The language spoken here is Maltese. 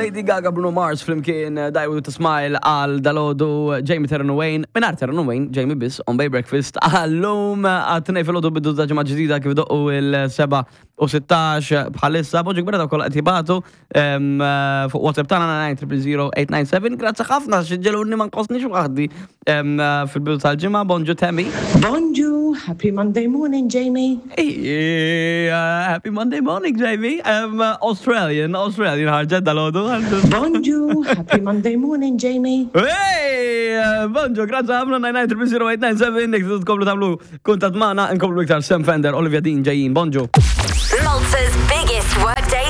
Lady Gaga, Bruno Mars flimkien eh, Die With A Smile għal dalodu Jamie Terran Wayne, minar Terran Wayne, Jamie biss on Bay Breakfast għallum għat-tnej fil-ħodu bidu ta' ġimgħa ġdida kif doqqu il-7 u 16 bħalissa, bonġu kbira ta' kollha qed jibatu eh, fuq WhatsApp tagħna 9000897. Grazzi ħafna x'ġeluni ma nqosniex waħdi eh, fil-bidu tal-ġimgħa. Bonġu Tammy. Bonġu, happy Monday morning, Jamie. Hey, uh, happy Monday morning, Jamie. Um, Australian, Australian ħarġet dal-ħodu. Bonġu, happy Monday morning, Jamie. Hey, uh, bonġu, grazzi ħafna 9900897, nek tkomplu tagħmlu kuntatt magħna, nkomplu iktar Sam Fender, Olivia Dean ġejjin, bonġu. Malta's